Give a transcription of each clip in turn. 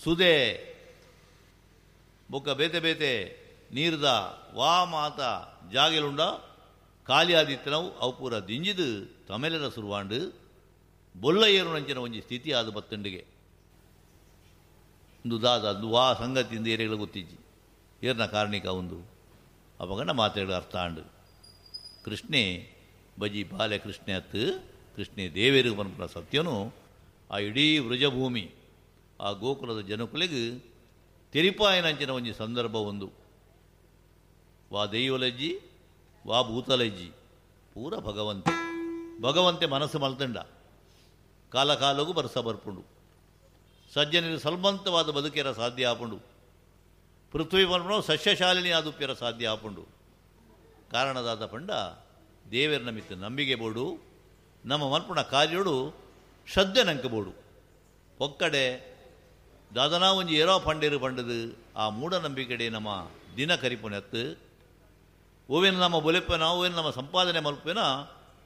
ಸುದೆ ಬೊಕ್ಕ ಬೇತೆ ಬೇತೆ ನೀರ್ದ ವಾ ಮಾತ ಜಾಗೆಲುಂಡ ಖಾಲಿ ಆದಿತ್ತನವು ಅವು ಪೂರ ದಿಂಜಿದು ತಮೆಲೆದ ಸುರುವಾಂಡು ಬೊಲ್ಲ ಏರುನಂಚಿನ ಒಂಜಿ ಸ್ಥಿತಿ ಆದ ಬತ್ತಂಡಿಗೆ ಒಂದು ದಾದ ಅದು ವಾ ಸಂಗತಿಯಿಂದ ಏರೆಗಳ ಗೊತ್ತಿಜ್ಜಿ ಏರ್ನ ಕಾರಣಿಕ ಒಂದು ಅಪಗಂಡ ಮಾತೆಗಳು ಅರ್ಥ ಆಂಡು. ಕೃಷ್ಣೆ ಬಜಿ ಬಾಲೆ ಕೃಷ್ಣೆ ಅತ್ತು ಕೃಷ್ಣೆ ದೇವೇರಿಗೆ ಪನ್ಪುನ ಸತ್ಯನು ಆ ಇಡೀ ವೃಜಭೂಮಿ ಆ ಗೋಕುಲದ ಜನಕುಲೆಗ್ ತೆರಿಪಾಯನಂಚಿನ ಒಂಜಿ ಸಂದರ್ಭ ಒಂದು. ವಾ ದೈವಲಜ್ಜಿ ವಾ ಭೂತಲಜ್ಜಿ ಪೂರ ಭಗವಂತೆ ಭಗವಂತೆ ಮನಸ್ಸು ಮಲ್ತಂಡ ಕಾಲ ಕಾಲಗೂ ಬರ್ಸ ಬರ್ಪುಂಡು ಸಜ್ಜನರು ಸಲ್ಮಂತವಾದ ಬದುಕೆರ ಸಾಧ್ಯ ಆಪುಂಡು ಪೃಥ್ವಿ ಪನ್ಪುಣ ಸಸ್ಯಶಾಲಿನಿ ಆದುಪ್ಯರ ಸಾಧ್ಯ ಆಪುಂಡು. ಕಾರಣದಾದ ಪಂಡ ದೇವರ ಮಿತ್ತು ನಂಬಿಕೆ ಬೋಡು ನಮ್ಮ ಮಲ್ಪುಣ ಕಾರ್ಯೋಡು ಶ್ರದ್ಧೆ ನಂಕ ಬೋಡು. ಒಕ್ಕಡೆ ದಾದನಾ ಒಂಜಿ ಏರೋ ಪಂಡೇರು ಪಂಡದು ಆ ಮೂಢನಂಬಿಕೆಡೆ ನಮ್ಮ ದಿನ ಕರಿಪುನೆತ್ತು ಓವೇನು ನಮ್ಮ ಬೊಲೆಪ್ಪನ ಓವೇನು ನಮ್ಮ ಸಂಪಾದನೆ ಮಲ್ಪೇನ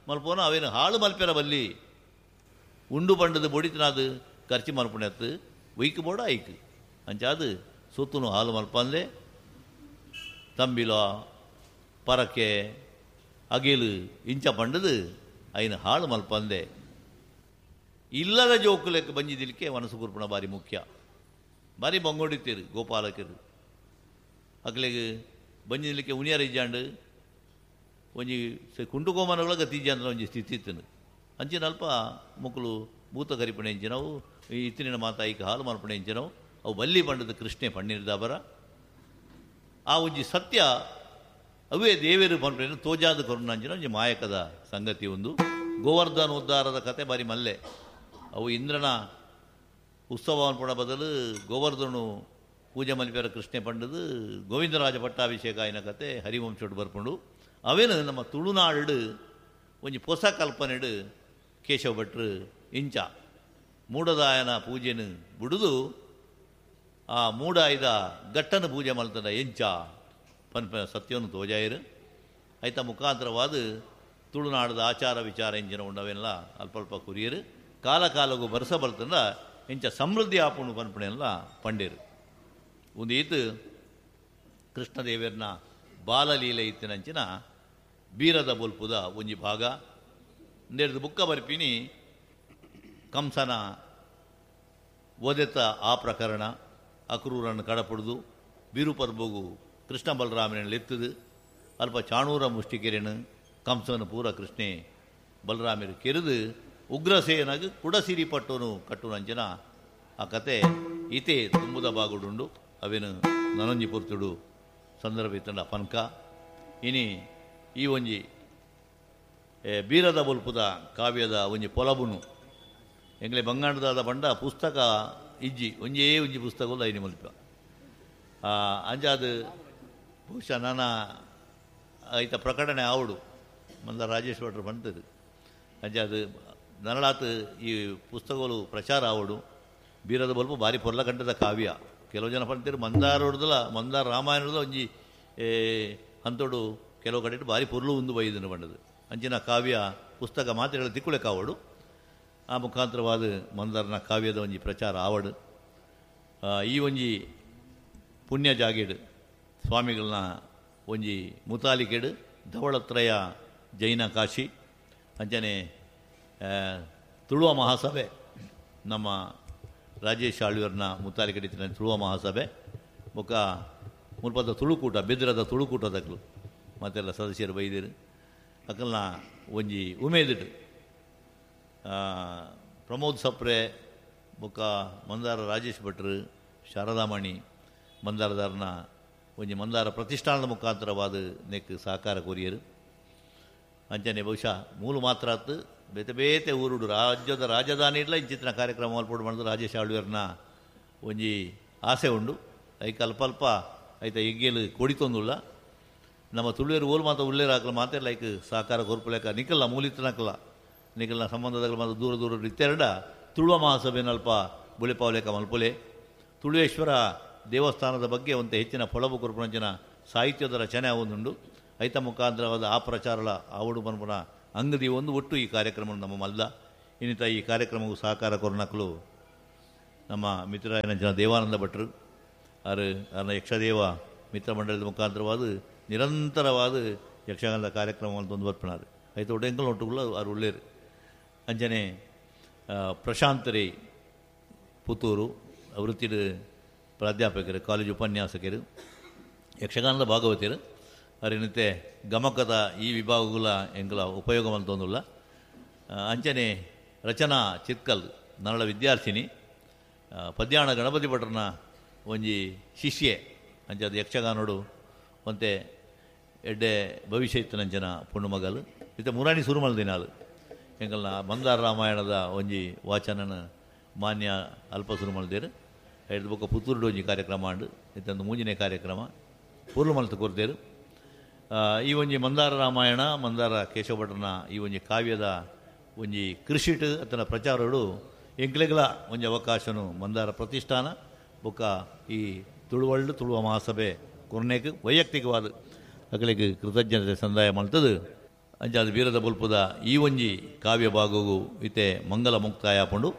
ಮಲ್ಪೋನ ಅವೇನು ಹಾಳು ಮಲ್ಪೆರ ಬಲ್ಲಿ ಉಂಡು ಪಂಡದು ಬೊಡಿತನಾದು ಖರ್ಚು ಮಲ್ಪುನೆತ್ತು ಒಯ್ಕು ಬೋಡ ಐಕು ಅಂಚಾದು ಸೊತ್ತುನು ಹಾಲು ಮಲ್ಪಂದೆ ತಂಬಿಲ ಪರಕೆ ಅಗಿಲು ಇಂಚ ಪಂಡದು ಐನು ಹಾಳು ಮಲ್ಪಂದೆ ಇಲ್ಲದ ಜೋಕುಲೆಕ್ಕ ಬಂಜಿದಿಲಿಕ್ಕೆ ಮನಸ್ಸು ಕುರ್ಪಣ ಬಾರಿ ಮುಖ್ಯ. ಬಾರಿ ಬಂಗೊಡಿತ್ತೀರು ಗೋಪಾಲಕರು ಅಕ್ಲೆಗ್ ಬಂಜಿದಿಲಿಕ್ಕೆ ಉನಿಯರ ಇಜ್ಜಾಂಡು ಒಂಜಿ ಕುಂಟುಕೋಮನಗಳ ಗತಿ ಅಂತ ಒಂಜಿ ಸ್ಥಿತಿ ಇತ್ತನು ಅಂಚಿನ ಅಲ್ಪ ಮುಕ್ಕಲು ಭೂತ ಕರಿಪಣೆ ಇಂಚಿನವು ಇತ್ತಿನ ಮಾತಾಯಿಕ ಹಾಲು ಮಲ್ಪಣೆ ಇಂಚಿನವು ಅವು ಬಲ್ಲಿ ಪಂಡದ ಕೃಷ್ಣೆ ಪಣ್ಣಿರ್ದಾಬರ ಆ ಒಂಜಿ ಸತ್ಯ ಅವೇ ದೇವೇರು ಪಂಪಣೆ ತೋಜಾದ ಕರುಣಾಂಚಿನ ಒಂಜಿ ಮಾಯಕದ ಸಂಗತಿ ಒಂದು. ಗೋವರ್ಧನೋದ್ಧಾರದ ಕತೆ ಬಾರಿ ಮಲ್ಲೆ. ಅವು ಇಂದ್ರನ ಉತ್ಸವ ಅನ್ಪುಣ ಬದಲು ಗೋವರ್ಧನು ಪೂಜೆ ಮಲ್ಪೆರ ಕೃಷ್ಣೆ ಪಂಡದು ಗೋವಿಂದರಾಜ ಪಟ್ಟಾಭಿಷೇಕ ಆಯ್ನ ಕತೆ ಹರಿವಂಶೋಡು ಬರ್ಪುಂಡು. ಅವೇನು ನಮ್ಮ ತುಳುನಾಡು ಒಂಜಿ ಪೊಸ ಕಲ್ಪನೆಡು ಕೇಶವ ಭಟ್ರು ಇಂಚ ಮೂಡದಾಯನ ಪೂಜೆನು ಬುಡುದು ಆ ಮೂಡಾಯ್ದ ಗಟ್ಟನ ಪೂಜೆ ಮಲ್ತದ ಎಂಚ ಪನ್ಪ ಸತ್ಯವನ್ನು ತೋಜಾಯಿರು. ಐತ ಮುಖಾಂತರವಾದ ತುಳುನಾಡದ ಆಚಾರ ವಿಚಾರ ಎಂಚಿನ ಉಂಡವೆಲ್ಲ ಅಲ್ಪ ಅಲ್ಪ ಕುರಿಯರು ಕಾಲ ಕಾಲಗೂ ಬರ್ಸ ಬರ್ತಂದ ಎಂಚ ಸಮೃದ್ಧಿ ಆಪುಣು ಪನ್ಪಣೆಲ್ಲ ಪಂಡೇರು. ಒಂದು ಈತು ಕೃಷ್ಣದೇವರನ ಬಾಲಲೀಲೆ ಇತ್ತಿನಂಚಿನ ಬೀರದ ಬೊಲ್ಪುದ ಒಂಜಿ ಭಾಗ. ಒಂದೆರಡು ಬುಕ್ಕ ಬರ್ಪಿನಿ ಕಂಸನ ಒದೆತ ಆ ಪ್ರಕರಣ ಅಕ್ರೂರನ್ನು ಕಡಪುಡ್ದು ಬೀರುಪರ್ಬಗು ಕೃಷ್ಣ ಬಲರಾಮನ ಎತ್ತದು ಅಲ್ಪ ಚಾಣೂರ ಮುಷ್ಟಿಕೆರೆನು ಕಂಸನ ಪೂರ ಕೃಷ್ಣೆ ಬಲರಾಮರು ಕೆರೆದು ಉಗ್ರಸೇನಾಗ ಕುಡಸಿರಿ ಪಟ್ಟೋನು ಕಟ್ಟುನಂಚಿನ ಆ ಕತೆ ಇತೆ ತುಂಬುದ ಬಾಗುಡುಂಡು. ಅವೇನು ನನೊಂಜಿ ಪೊರ್ತುಡು ಸಂದರ್ಭ ಇತ್ತಂಡ ಪನ್ಕ ಇನಿ ಈ ಒಂಜಿ ಬೀರದ ಬೊಲ್ಪುದ ಕಾವ್ಯದ ಒಂಜಿ ಪೊಲಬುನು ಎಂಗ್ಲೆ ಬಂಗಾಂಡದಾದ ಪಂಡ ಪುಸ್ತಕ ಇಜ್ಜಿ ಒಂಜೇ ಒಂಜಿ ಪುಸ್ತಕ ಐನಿ ಮಲ್ಪ ಅಂಜಾದ ಬಹುಶಃ ನಾನ ಐತ ಪ್ರಕಟಣೆ ಆವಡು ಮಂದ ರಾಜೇಶ್ ಭಟ್ರು ಬಂತದು ಅಂಜಾದ ನರಳಾತ್ ಈ ಪುಸ್ತಕಗಳು ಪ್ರಚಾರ ಆವಡು. ಬೀರದ ಬೊಲ್ಪ ಭಾರಿ ಪೊರ್ಲಕಂಠದ ಕಾವ್ಯ. ಕೆಲವು ಜನ ಪಂತೀರು ಮಂದಾರೋಡ್ದಲ ಮಂದಾರ ರಾಮಾಯಣದ ಒಂಜಿ ಅಂತೋಡು ಕೆಲವು ಕಡೆ ಭಾರಿ ಪೊರ್ಲು ಉಂದು ಬೈದನು ಬಂಡದು ಅಂಚಿನ ಕಾವ್ಯ ಪುಸ್ತಕ ಮಾತ್ರೆಗಳ ತಿಕ್ಕುಳೆ ಕಾವಡು. ಆ ಮುಖಾಂತರವಾದ ಮಂದಾರನ ಕಾವ್ಯದ ಒಂಜಿ ಪ್ರಚಾರ ಆವಡು. ಈ ಒಂಜಿ ಪುಣ್ಯ ಜಾಗೆಡು ಸ್ವಾಮಿಗಳನ್ನ ಒಂಜಿ ಮುತಾಲಿಕೆಡು ಧವಳತ್ರಯ ಜೈನ ಕಾಶಿ ಅಂಚನೆ ತುಳುವ ಮಹಾಸಭೆ ನಮ್ಮ ರಾಜೇಶ್ ಆಳ್ವಿಯವ್ರನ್ನ ಮುತಾಲಿಕೆಡಿತ್ತಿನ ತುಳುವ ಮಹಾಸಭೆ ಬೊಕ್ಕ ಮುಲ್ಪದ ತುಳುಕೂಟ ಬೆದ್ರದ ತುಳುಕೂಟದಕ್ಲು ಮತ್ತೆಲ್ಲ ಸದಸ್ಯರು ಬೈದಿರು ಅಕಲ್ನ ಒಂಜಿ ಉಮೇದಿಡು ಪ್ರಮೋದ್ ಸಪ್ರೆ ಬೊಕ್ಕ ಮಂದಾರ ರಾಜೇಶ್ ಭಟ್ರು ಶಾರದಾಮಣಿ ಮಂದಾರದಾರನ ಒಂಜಿ ಮಂದಾರ ಪ್ರತಿಷ್ಠಾನದ ಮುಖಾಂತರವಾದ ನೆಕ್ ಸಹಕಾರ ಕೊರಿಯರು. ಅಂಚನೆ ಬಹುಶಃ ಮೂಲು ಮಾತ್ರ ಆತು ಬೇತೆ ಬೇತೆ ಊರುಡು ರಾಜ್ಯದ ರಾಜಧಾನಿ ಇಡ್ಲ ಇಂಚಿತ್ತಿನ ಕಾರ್ಯಕ್ರಮ ಮಲ್ಪೊಡು ಮಾಡಿದ್ರು ರಾಜೇಶ್ ಆಳ್ವಿಯವ್ರನ್ನ ಒಂಜಿ ಆಸೆ ಉಂಡು. ಐಕ ಅಲ್ಪ ಅಲ್ಪ ಐತ ಎಗ್ಗೇಲು ಕೊಡಿತೊಂದುಲ್ಲ ನಮ್ಮ ತುಳುವೇರು ಓಲ್ ಮಾತ ಉಳ್ಳೇರು ಹಾಕಲ ಮಾತೆಲ್ಲ ಐಕ್ ಸಹಕಾರ ಕೊರ್ಪುಲೆಕ ನಿಕಲ್ಲ ಮೂಲಿತ್ತನಕಲ್ಲ ನಿಕಲ್ನ ಸಂಬಂಧದಾಗ ಮಾತ್ರ ದೂರ ದೂರ ಇತ್ತೆರಡ ತುಳುವ ಮಹಾಸಭೆನ ಅಲ್ಪ ಬುಳೆಪಾವಲೇಕ ಮಲ್ಪೊಲೆ ತುಳುವೇಶ್ವರ ದೇವಸ್ಥಾನದ ಬಗ್ಗೆ ಒಂದು ಹೆಚ್ಚಿನ ಪೊಳಬು ಕೊರ್ಪುನಂಚಿನ ಸಾಹಿತ್ಯದ ರಚನೆ ಒಂದುಂಡು. ಐತ ಮುಖಾಂತರವಾದ ಆ ಪ್ರಚಾರಲ ಆವಡು ಮನ್ಪುನ ಅಂಗದಿ ಒಂದು ಒಟ್ಟು ಈ ಕಾರ್ಯಕ್ರಮ ನಮ್ಮ ಮಲ್ದ ಇನ್ನಿತ ಈ ಕಾರ್ಯಕ್ರಮಕ್ಕೂ ಸಹಕಾರ ಕೊರ್ನಕ್ಲು ನಮ್ಮ ಮಿತ್ರರಾಯನ ಜನ ದೇವಾನಂದ ಭಟ್ರು ಆರು ಅರ್ನ ಯಕ್ಷದೇವ ಮಿತ್ರ ಮಂಡಲದ ಮುಖಾಂತರವಾದ ನಿರಂತರವಾದ ಯಕ್ಷಗಾನದ ಕಾರ್ಯಕ್ರಮವನ್ನು ತಂದು ಬರ್ಪಿನಾರು ಐತ ಒಡೆಂಕಲ್ ಒಟ್ಟುಗುಲ ಆರು ಉಳ್ಳೇರು. ಅಂಚನೆ ಪ್ರಶಾಂತ್ ರೇ ಪುತ್ತೂರು ವೃತ್ತಿಡು ಪ್ರಾಧ್ಯಾಪಕರು, ಕಾಲೇಜು ಉಪನ್ಯಾಸಕರು, ಯಕ್ಷಗಾನದ ಭಾಗವತರು ಅರಿನತೆ ಗಮಕದ ಈ ವಿಭಾಗಗಳ ಎಂಕಲ ಉಪಯೋಗ ಮಲ್ತೊಂದುಲ್ಲ. ಅಂಚನೆ ರಚನಾ ಚಿತ್ಕಲ್ ನರಳ ವಿದ್ಯಾರ್ಥಿನಿ, ಪದ್ಯಾಣ ಗಣಪತಿ ಭಟ್ರನ ಒಂಜಿ ಶಿಷ್ಯೆ ಅಂಚಾದ ಯಕ್ಷಗಾನೋಡು ಒಂತೆ ಎಡ್ಡೆ ಭವಿಷ್ಯ ಇತ್ತನಂಚನ ಪುಣ್ಣು ಮಗಲು ಇತ್ತ ಮುರಾಣಿ ಸುರುಮಲ್ ದಿನಾಲು ಎಂಕಲ್ನ ಮಂದಾರ ರಾಮಾಯಣದ ಒಂಜಿ ವಾಚನನ ಮಾನ್ಯ ಅಲ್ಪ ಸುರುಮಲ್ದೇರು. ಐದು ಬೊಕ್ಕ ಪುತ್ತೂರುಡು ಒಂಜಿ ಕಾರ್ಯಕ್ರಮ ಆಂಡು ಇತ್ತೊಂದು ಮೂಂಜಿನೇ ಕಾರ್ಯಕ್ರಮ ಪೂರ್ಲು ಮಲ್ತು ಕೊರ್ತೇರು. ಈ ಒಂಜಿ ಮಂದಾರ ರಾಮಾಯಣ ಮಂದಾರ ಕೇಶವ ಭಟ್ರನ ಈ ಒಂಜಿ ಕಾವ್ಯದ ಒಂಜಿ ಕೃಷಿಟ್ ಅತನ ಪ್ರಚಾರಡು ಎಂಕ್ಲೆಗಳ ಒಂಜಿ ಅವಕಾಶನು ಮಂದಾರ ಪ್ರತಿಷ್ಠಾನ ಬೊಕ್ಕ ಈ ತುಳುವಳ್ಳು ತುಳುವ ಮಹಾಸಭೆ ಕೊರ್ನೇಕ್ ವೈಯಕ್ತಿಕವಾದ ಅಕಲೆಗ್ ಕೃತಜ್ಞತೆ ಸಂದಾಯ ಮಲ್ತದು. ಅಂಚಾದ ವೀರದ ಬೊಲ್ಪುದ ಈ ಒಂಜಿ ಕಾವ್ಯ ಭಾಗವು ಇತ್ತೆ ಮಂಗಲ ಮುಕ್ತಾಯ ಪಂಡು.